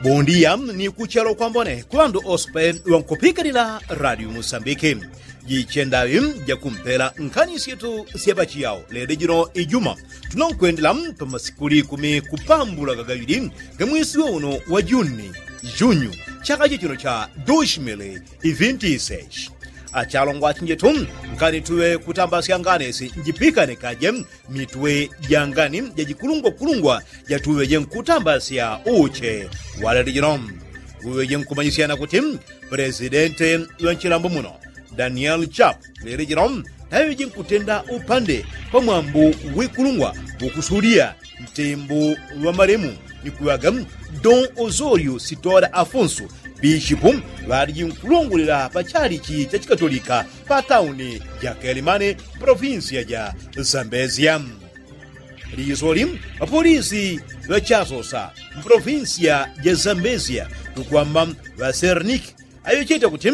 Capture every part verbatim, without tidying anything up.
Bondia ni kuchalo kwambone kuŵandu ospe ŵankupikanila radio musambiki. Jichendaŵi jakumpela nkhani syetu sya pachiyao lede jino ijuma tunankwendela pamasiku likumi kupambula gagaŵili gamwesi wa uno wa juni, junyu, chaka chichino cha dushimili ivinti iseshi. Achalongwa achinjetu, nkani tuŵe kutambasya ngani si njipikane kaje mitwe ja ngani jajikulungwakulungwa jatuŵeje nkutambasya uche walele jino. Uŵeje nkumanyisyana kuti, pulesidente ŵanchilambo muno, daniel chap, lele jino taŵeje nkutenda upande pamwambu wikulungwa wukusulia ntembo ŵamalemu ni kuŵaga don ozorio sitora afonso, bishipu ŵaliji nkulongolela pachalichi chachikatolika patauni ja kelimane, provinsia ja zambezia. Lisoli ŵapolisi ŵachasosa mprovinsia ja zambezia tukwamba ŵaserniki aŵecheta kuti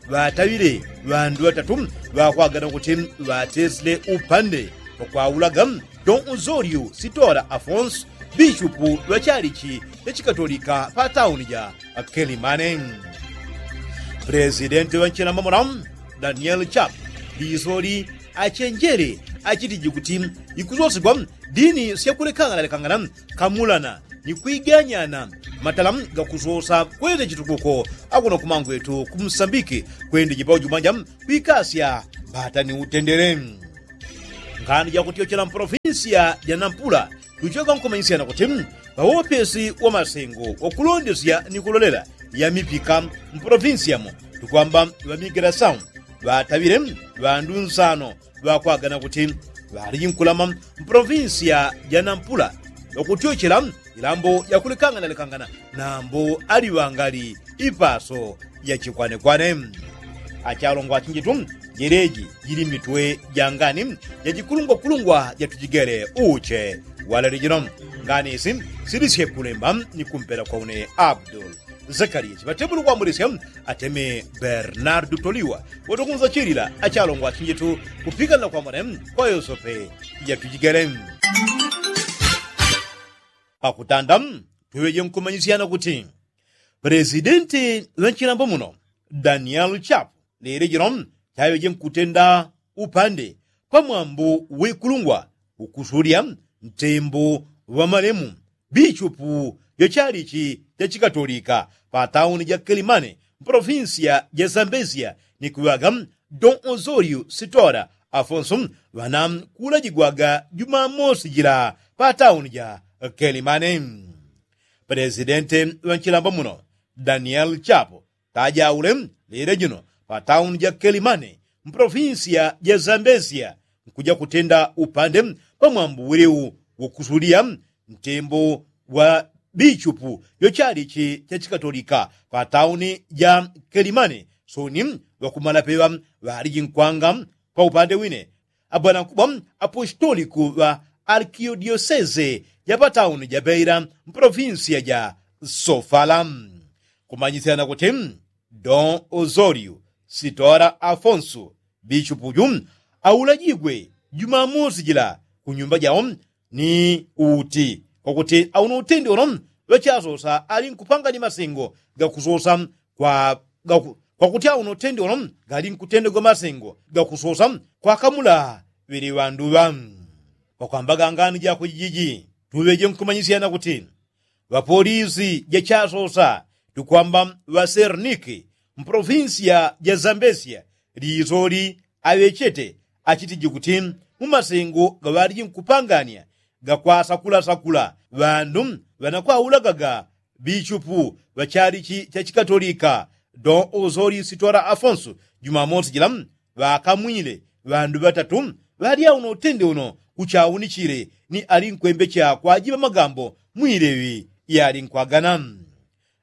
ŵataŵile ŵandu ŵatatu ŵakwagana kuti ŵatesile upande pakwaulaga don ozorio sitora afonso, bishupu ŵachalichi chachikatolika patauni ja kelimane. Pulesidenti ŵanchilamba mula daniel chap, lisoli achenjele achitiji kuti ikusosegwa dini syakulekanganalekangana kamulana ni kwiganyana matala gakusosa kwete chitukuko akuno kumangwetu kumsambiki kwende jipau jumanja kwikasya mbata ni utendele. Ngani jakutyochela mprovinsia ja nampula tuchoka nkumanyisyana kuti ŵawopesi wa masengo wakulondesya ni kulolela ya mipika mprovinsiamo tukwamba ŵamigela sau ŵataŵile ŵandu nsano ŵakwagana kuti ŵaliji nkulama mprovinsia ja nampula ŵakutyochela ilambo yakulekanganalekangana nambo aliŵangali ipaso ya chikwanekwane. Achalongwa achinjitu, jeleji jili mitwe ja ngani jajikulungwakulungwa jatujigele uche walele jino. Ngani isi silisye kulemba ni kumpela kwa une abdul zakaria chiŵatebulu kwambulisya ateme bernardu toliwa watukunza chilila achalongwa achinjitu kupikanila kwambone kwa yosope jatujigele. Pakutanda tuŵeje nkumanyisyana kuti pulesidenti ŵanchilambo muno daniel chap lele jino chaŵeje nkutenda upande pamwambu wikulungwa ukusulya ntembo ŵamalemu bishupu jachalichi chachikatolika patauni ja kelimane mprovinsia ja zambezia ni kuŵaga don ozorio sitora afonso ŵana kulajigwaga jumamosi jila patauni ja kelimane. Pulesidente ŵanchilambo muno daniel chapo tajaule lile jino patauni ja kelimane mprovinsia ja zambezia nkuja kutenda upande pamwambu wiliu wokusulia ntembo wa bichupu yochalichi chachikatolika patauni ja kelimane soni ŵakumalapeŵa ŵaliji nkwanga. Paupande wine abwanankubwa apostoliku ŵa alkiodioseze ja patauni ja beila mpolofinsiya ja sofala. Kumanyisyana kuti don ozoliu sitora afonsu bichupu ju aulajigwe jumamosi jila kunyumba jao ni uti kwakuti auno utende uno ŵachasosa ali nkupangani masengo gakusosa kwa kwakuti auno utende uno gali nkutendegwa masengo gakusosa kwakamula ŵele ŵandu ŵa. Pakwambaga ngani jako jijiji tuŵeje nkumanyisyana kuti ŵapolisi jachasosa tukwamba ŵaserniki mpolofinsiya ja zambesiya lisoli aŵechete achitiji kuti mumasengo gaŵaliji nkupangania gakwasakulasakula ŵandu ŵanakwaulagaga bichupu ŵa chalichi cha chikatolika don ozoliu sitora afonsu jumamosi jila ŵakamwile ŵandu ŵatatu ŵalya uno utende uno uchawunichile ni ali nkwembecha kwajiŵa magambo mwileŵi yali nkwagana.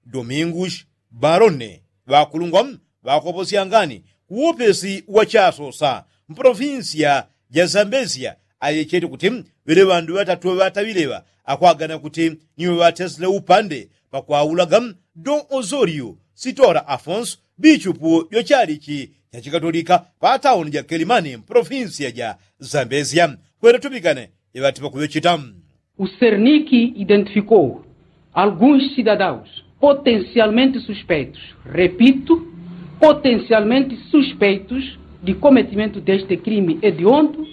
Domingush barone ŵakulungwa ŵakoposyangani kuwopesi wa chasosa mpolofinsiya ja zambesiya aŵechete kuti ŵele ŵandu ŵatatu ŵataŵileŵa akwagana kuti niwo ŵatesile upande pakwaulaga don ozoliu sitora afonsu bichupu jo chalichi cha chikatolika patauni ja kelimani mpolofinsiya ja zambesiya kwele tupikane iŵati pakuŵecheta. O serniki identifikou alguns sidadaus potencialmente suspeitos, repito, potencialmente suspeitos de cometimento deste crime hediondo,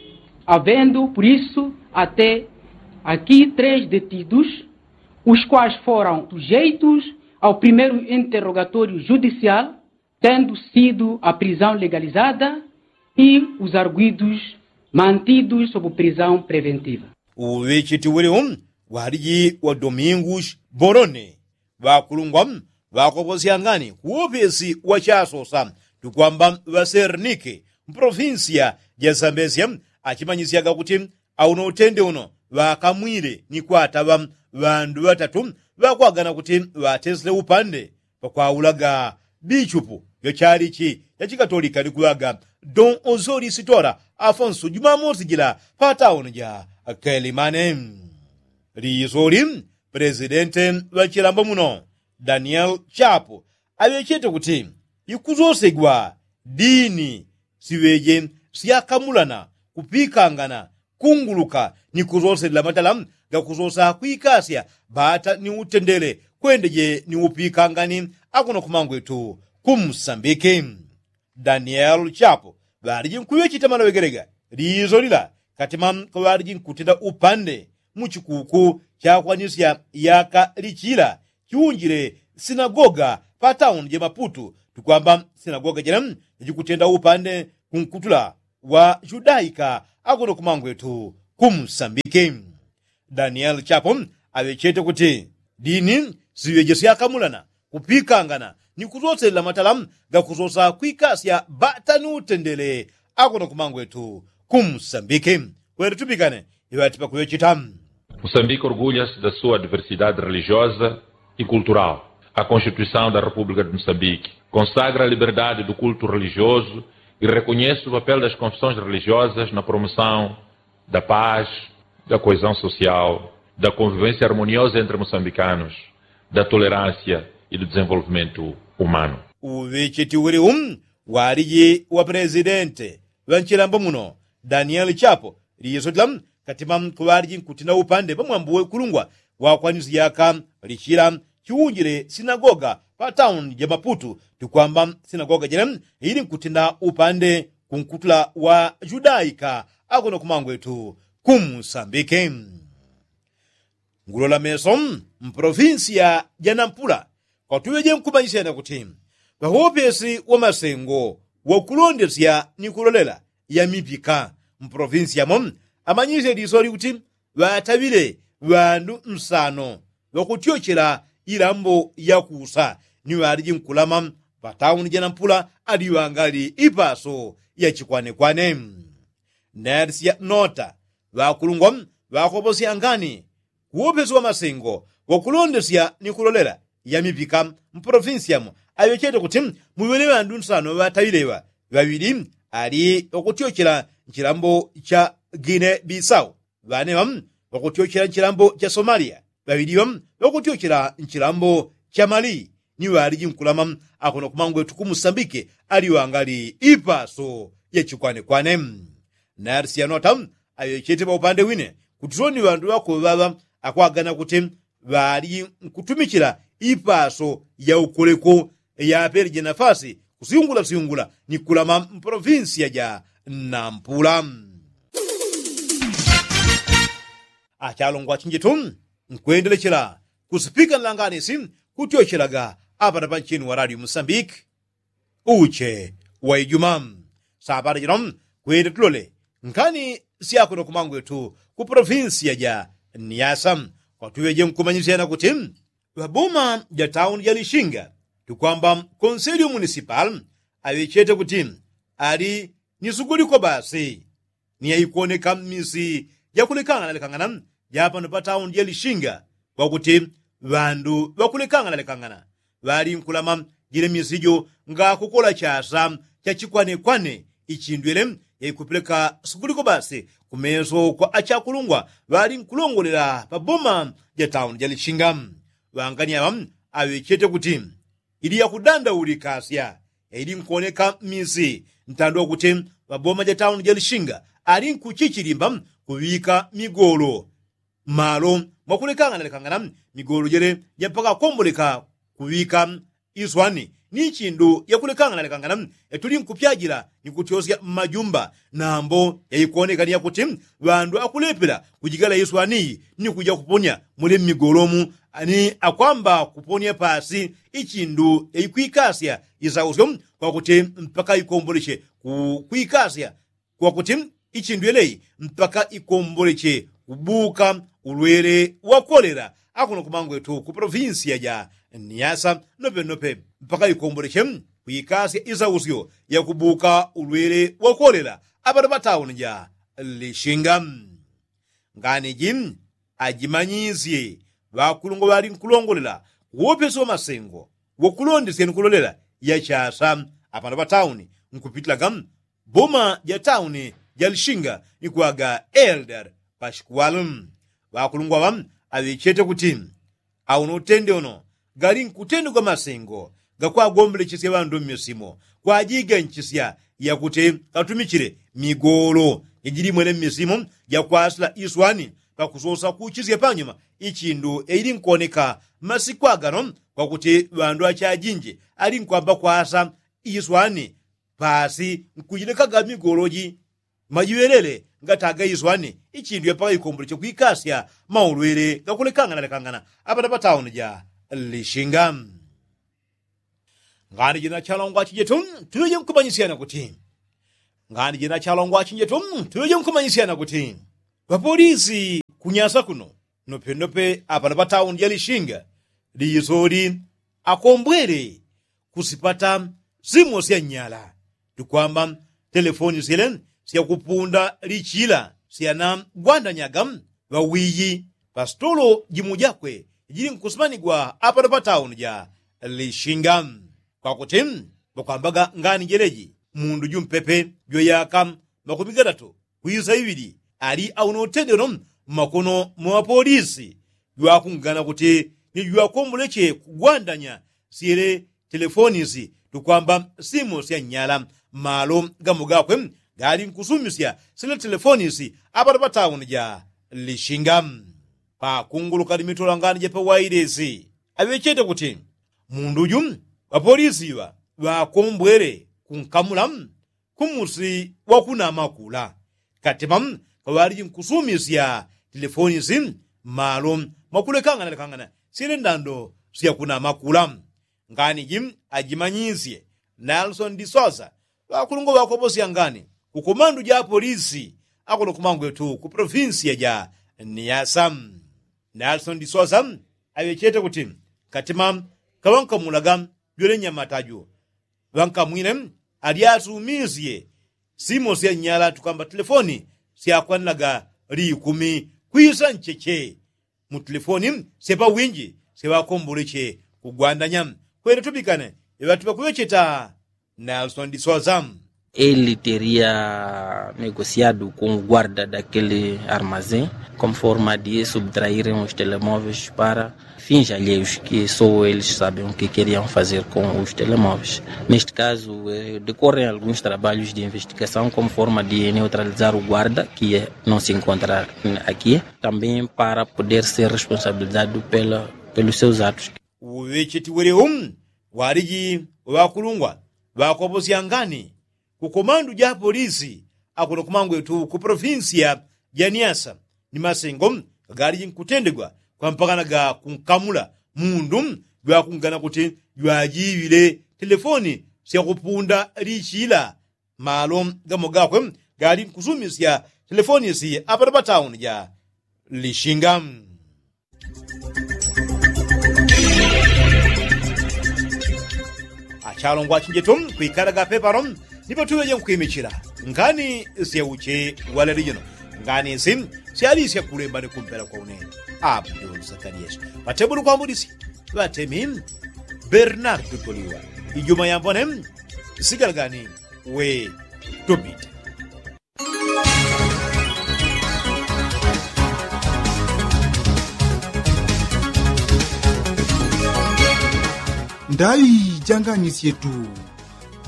havendo por isso até aqui três detidos, os quais foram sujeitos ao primeiro interrogatório judicial, tendo sido a prisão legalizada e os arguidos mantidos sob prisão preventiva. Uŵecheti uŵeleŵo waliji wa domingus borone ŵakulungwa ŵakoposyangani kuwopesi wa chasosa tukwamba ŵasernike mpolofinsiya ja sambesya achimanyisyaga kuti auno utende uno ŵakamwile ni kwataŵa ŵandu ŵatatu ŵakwagana kuti ŵatesile upande pakwaulaga bichupu yo chalichi cha chikatolika ni kulaga don osori sitora afonso jumamosi jila pa tauni ja kelimane. Lisoli pelesidente ŵa chilambo muno daniel chapo aŵechete kuti ikusosegwa dini siŵeje syakamulana kupikangana kunguluka ni kusoselela matala gakusosa kwikasya bata ni utendele kwendeje ni upikangani akuno kumangwetu kumsambiki. Daniel chapo ŵaliji nkuŵecheta maloŵegelega liso lila katima kaŵaliji nkutenda upande mu chikuku chakwanisya yaka lichila chiunjile sinagoga pa tauni ja maputu tukwamba sinagoga jene jajikutenda upande kunkutula wa judaika akuno kumangwetu kumsambiki. Daniel chapo aŵechete kuti dini siŵeje syakamulana kupikangana ni kusoselela matala gakusosa kwikasya bata ni utendele akuno kumangwetu kumsambiki. Kwele tupikane iŵati pakuŵecheta. Moçambique orgulha-se da sua diversidade religiosa e cultural. A Constituição da República de Moçambique consagra a liberdade do culto religioso e reconhece o papel das confissões religiosas na promoção da paz, da coesão social, da convivência harmoniosa entre moçambicanos, da tolerância e do desenvolvimento humano. Uŵecheti uŵeleŵo waliji wa pelesidente ŵa nchilambo muno daniel chapo lisotila katima kuŵaliji nkutenda upande pamwambo wekulungwa wakwanisi yaka lichila chiunjile sinagoga pa tauni ja maputu tukwamba sinagoga jene ili nkutenda upande kunkutula wa judaika akuno kumangwetu kumsambiki. Ngulola meso mpolofinsiya ja nampula kwatuŵeje nkumanyisya yane kuti ŵawopesi wa masengo wakulondesya ni kulolela ya mipika mpolofinsiya mo amanyisye lisoli kuti ŵataŵile ŵandu nsano ŵakutyochela ilambo yakusa ni ŵaliji nkulama pa tauni ja nampula aliŵangali ipaso ya chikwanekwane. Nelsia nota ŵakulungwa ŵakoposyangani kuwopesi wa masengo wakulondesya ni kulolela ya mipika mpolofinsiya mo aŵechete kuti muŵele ŵandu nsano ŵataŵile ŵa ŵaŵili ali ŵakutyochela nchilambo cha gine bisau ŵane ŵa ŵakutyochela nchilambo cha somaliya ŵaŵili ŵa ŵakutyochela nchilambo cha mali ni ŵaliji nkulama akuno kumangwetu kumusambike aliŵangali ipaso ya chikwanekwane. Narisiyanota aŵechete ŵaupande wine kuti soni ŵandu ŵakoŵaŵa akwagana kuti ŵaliji nkutumichila ipaso ya ukoleko yapeleje nafasi kusyungula syungula ni kulama mpolofinsiya ja nampula. Achalongwa chinjitu nkwendelechela kusipika nlanganisi kutyochelaga apata panchini wa radio musambiki uche wa ijuma. Sapata jino kwende tulole nkhani syakuno kumangwetu ku polofinsiya ja niyasa kwatuŵeje nkumanyisyana kuti ŵaboma ja tauni ja lishinga tukwamba konselio munisipal aŵechete kuti ali ni suguliko basi ni yaikuoneka mmisi jakulekangana lekangana japano pa tauni ja lishinga kwakuti ŵandu ŵakulekangana lekangana ŵali nkulama jile misi jo ngakukola chasa cha chikwanekwane ichindwele yaikupeleka suguliko basi kumeso kwa achakulungwa ŵali nkulongolela pa boma ja tauni ja lishinga. Ŵangani aŵa aŵechete kuti ili yakudandaulika asya yaili nkuoneka mmisi ntando wakuti ŵaboma ja tauni ja lishinga ali nkuchichilimba kuŵika migolo mmalo mwakulekangana lekangana migolo jele ja mpaka kwomboleka kuŵika iswani ni ichindu yakulekangana lekangana yatuli nkupyajila ni kutyosya mmajumba nambo yaikoneka ni yakuti ŵandu akulepela kujigala iswani iyi ni kuja kuponya muli mmigolomu ni akwamba kuponya pasi ichindu yaikwikasya isausyo kwakuti mpaka ikomboleche kukwikasya kwakuti ichindu yeleyi mpaka ikomboleche kubuka ulwele wakolela akuno kumangwetu ku polofinsiya ja niyasa nopenope mpaka ikomboleche kuikasya isausyo yakubuka ulwele wakolela apano patauni ja lishinga. Nganiji ajimanyisye ŵakulungwa ŵali nkulongolela kuwopesi wa masengo wakulondesya ni kulolela yachasa apano patauni nkupitilaga boma ja tauni ja lishinga ni kuwaga elder pashikuwalu. Ŵakulungwa ŵa aŵechete kuti auno utende uno gali nkutendegwa masengo gakwagombelechesya ŵandu mmisimo kwajiganchisya yakuti katumichile migolo jajili mwene mmisimo jakwasila iswani pakusosa kuchisya panyuma ichindu yaili nkoneka masiku agano kwakuti ŵandu achajinji ali nkwamba kwasa iswani pasi nkujilekaga migoloji majiŵelele ngataga iswani ichindu yapaka ikomboleche kwikasya maulwele gakulekangana lekangana apata patauni ja lishinga. Ngani jina chalongwa chijetu tuŵeje nkumanyisyana kuti ngani jina chalongwa chijetu tuŵeje nkumanyisyana kuti ŵapolisi kunyasa kuno nopenope apano patauni ja lishinga lisoli akombwele kusipata simo sya nnyala tukwamba telefoni syele syakupunda lichila syanagwandanyaga ŵawiyi pasitolo jimu jakwe jili nkusimanigwa apano patauni ja lishinga kwakuti ŵakwambaga ngani jeleji mundu jumpepe jwa yaka makumi gatatu kwisa iŵili ali aunotendeno mmakono mwa ŵapolisi jwakungana kuti ni jwakomboleche kugwandanya syele telefonisi tukwamba simu sya nnyala malo gamo gakwe gali nkusumisya syele telefonisi apano patauni ja lishinga. Pakunguluka ni mitolangani ja pawailesi aŵechete kuti mundu ju ŵapolisi iŵa ŵakombwele kunkamula kumusi wakunama kula katima kaŵaliji nkusumisya telefonisi mmalo mwakulekangana lekangana syele ndando syakunama kula. Nganiji ajimanyisye nelsoni disosa ŵakulungwa ŵakoposya ngani kukomandu ja apolisi akuno kumangwetu ku polofinsiya ja niyasa. Nelsoni disosa aŵechete kuti katima kaŵankamulaga jwele nyamataju ŵankamwile alyasumisye simo sya nnyala tukamba telefoni syakwanilaga likumi kwisa ncheche mu telefoni syapawinji syaŵakomboleche kugwandanya. Kwene tubikane iŵatu ŵakuŵecheta nelsoni disosa. Ele teria negosiadu ku guarda dakele armazém konforma di subtraire uns telemóveis para finja alheios que só eles sabem o que queriam fazer com os telemóveis. Neste caso decorrem alguns trabalhos de investigação como forma de neutralizar o guarda que não se encontra aqui também para poder ser responsabilizado pelos seus atos. Uŵecheti welewo waliji ŵakulungwa ŵakoposya ngani kukomandu ja apolisi akuno kumangwetu ku polofinsiya ja niyasa ni masengo gagaliji nkutendegwa kwampakana ga kunkamula mundu jwakungana kuti jwajiŵile telefoni syakupunda lichila malo gamo gakwe gali nkusumisya telefonisi apano patauni ja lishinga. Achalongwa achinjetu kwikalaga pepano nipo tuŵeje nkwimichila ngani syeuche waleli jino ngani isi syalisya kulemba ni kumpela kwa une abdul sakaliyesu patebulu kwambudisya ŵatemi bernardu toliwa ijuma yambone sigalagani we tupite. Ndayi janganisyetu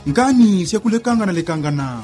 ngani syakulekanganalekangana.